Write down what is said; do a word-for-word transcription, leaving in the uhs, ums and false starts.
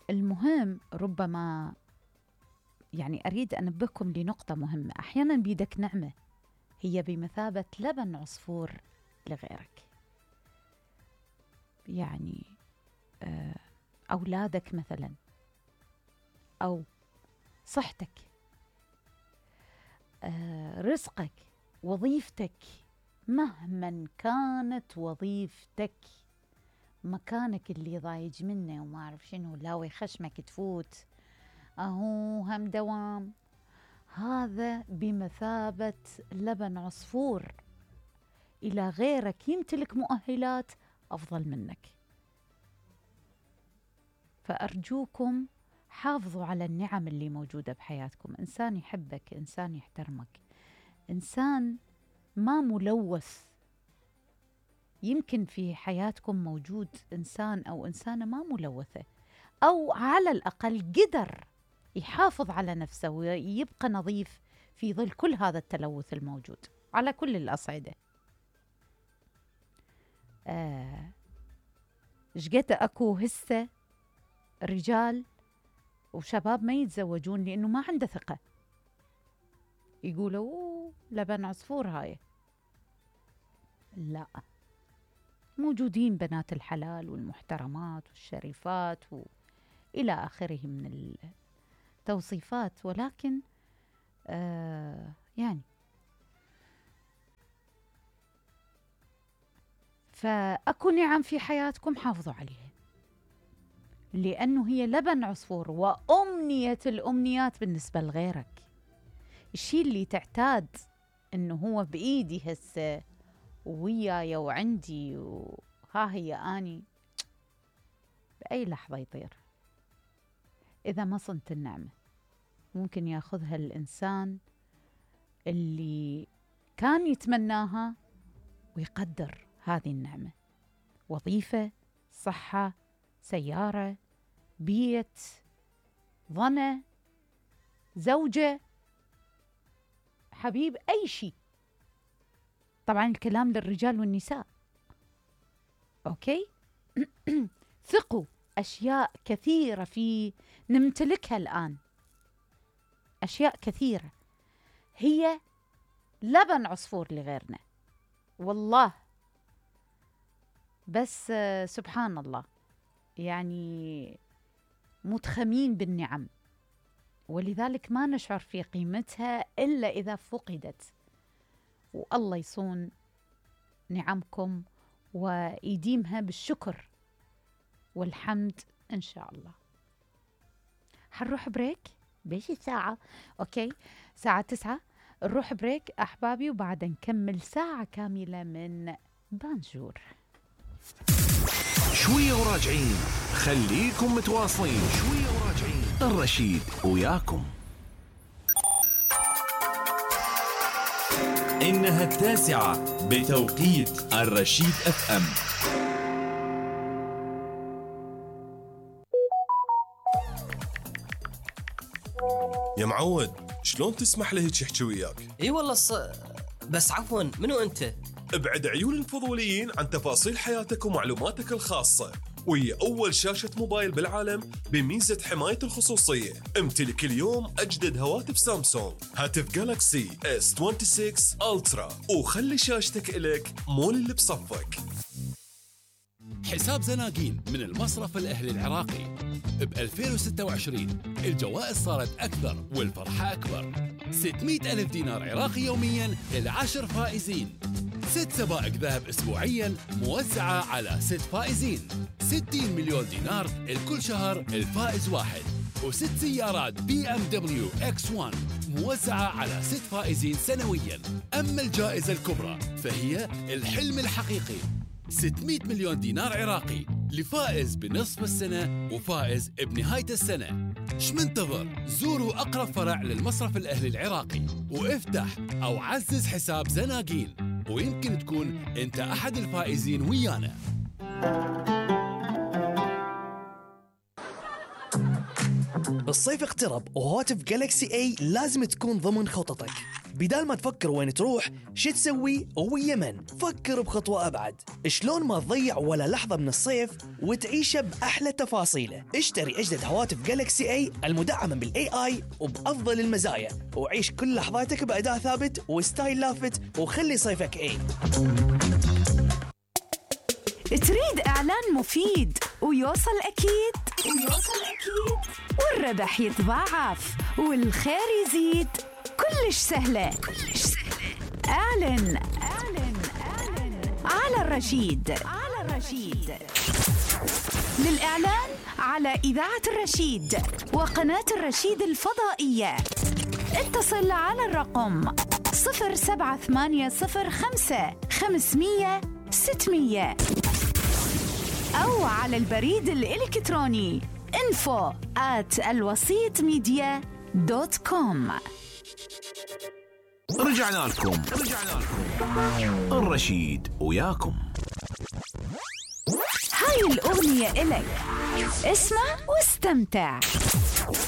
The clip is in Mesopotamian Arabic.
المهم ربما يعني أريد أنبهكم لنقطة مهمة. أحيانا بيدك نعمة هي بمثابة لبن عصفور لغيرك. يعني أولادك مثلا، أو صحتك، رزقك، وظيفتك، مهما كانت وظيفتك، مكانك اللي ضايج منه وما أعرف شنو، لاوي خشمك تفوت أهو هم دوام، هذا بمثابة لبن عصفور إلى غيرك يمتلك مؤهلات أفضل منك. فأرجوكم حافظوا على النعم اللي موجودة بحياتكم. إنسان يحبك، إنسان يحترمك، إنسان ما ملوث. يمكن في حياتكم موجود إنسان أو إنسانة ما ملوثة، أو على الأقل قدر يحافظ على نفسه ويبقى نظيف في ظل كل هذا التلوث الموجود على كل الأصعدة. آه شقد أكو هسه رجال وشباب ما يتزوجون لأنه ما عنده ثقة، يقولوا أوه لبن عصفور هاي. لا، موجودين بنات الحلال والمحترمات والشريفات وإلى آخره من التوصيفات، ولكن آه يعني فأكو نعم في حياتكم حافظوا عليها، لأنه هي لبن عصفور وأمنية الأمنيات بالنسبة لغيرك. الشيء اللي تعتاد إنه هو بإيدي هسه وياي وعندي وها هي آني، بأي لحظة يطير إذا ما صنت النعمة. ممكن ياخذها الإنسان اللي كان يتمناها ويقدر هذه النعمة: وظيفة، صحة، سيارة، بيت، ظنة، زوجة، حبيب، أي شيء. طبعا الكلام للرجال والنساء، أوكي؟ ثقوا، أشياء كثيرة في نمتلكها الآن، أشياء كثيرة هي لبن عصفور لغيرنا والله. بس سبحان الله، يعني متخمين بالنعم، ولذلك ما نشعر في قيمتها إلا إذا فقدت. والله يصون نعمكم ويديمها بالشكر والحمد إن شاء الله. حنروح بريك بيش الساعة، أوكي ساعة تسعة نروح بريك أحبابي، وبعد نكمل ساعة كاملة من بانجور. شوية وراجعين، خليكم متواصلين. شوية وراجعين، الرشيد وياكم. إنها التاسعة بتوقيت الرشيد اف ام. يا معود، شلون تسمح له هيك يحكي وياك؟ اي والله ص... بس عفوا، منو انت؟ ابعد عيون الفضوليين عن تفاصيل حياتك ومعلوماتك الخاصة، وهي أول شاشة موبايل بالعالم بميزة حماية الخصوصية. امتلك اليوم أجدد هواتف سامسونج، هاتف جالاكسي إس ستة وعشرين ألترا، وخلي شاشتك إلك مول اللي بصفك. حساب زناقين من المصرف الأهلي العراقي. ب ألفين وستة وعشرين الجوائز صارت أكثر والفرحة أكبر. ستمئة ألف دينار عراقي يومياً للعشر فائزين. ست سبائق ذهب أسبوعياً موزعة على ست فائزين. ستين مليون دينار لكل شهر الفائز واحد. وست سيارات بي ام دبليو اكس واحد موزعة على ست فائزين سنوياً. أما الجائزة الكبرى فهي الحلم الحقيقي، ستمئة مليون دينار عراقي لفائز بنصف السنة وفائز بنهاية السنة. ايش منتظر؟ زوروا أقرب فرع للمصرف الأهلي العراقي وافتح أو عزز حساب زناقين، ويمكن تكون أنت أحد الفائزين ويانا. الصيف اقترب وهواتف جالكسي اي لازم تكون ضمن خططك. بدال ما تفكر وين تروح شو تسوي ويا من، فكر بخطوة أبعد. شلون ما تضيع ولا لحظة من الصيف وتعيشه بأحلى تفاصيله. اشتري أجدد هواتف جالكسي اي المدعمة بالاي اي وبأفضل المزايا، وعيش كل لحظاتك بأداء ثابت وستايل لافت، وخلي صيفك اي. تريد إعلان مفيد ويوصل أكيد ويوصل أكيد والربح يتضاعف والخير يزيد؟ كلش سهلة كلش سهلة. أعلن أعلن أعلن على الرشيد على الرشيد. للإعلان على إذاعة الرشيد وقناة الرشيد الفضائية اتصل على الرقم صفر سبعة ثمانية صفر خمسة خمسمية ستمية أو على البريد الإلكتروني info at الوسيط ميديا دوت كوم. رجعنا لكم رجعنا لكم الرشيد وياكم. هاي الأغنية إلك، اسمع واستمتع.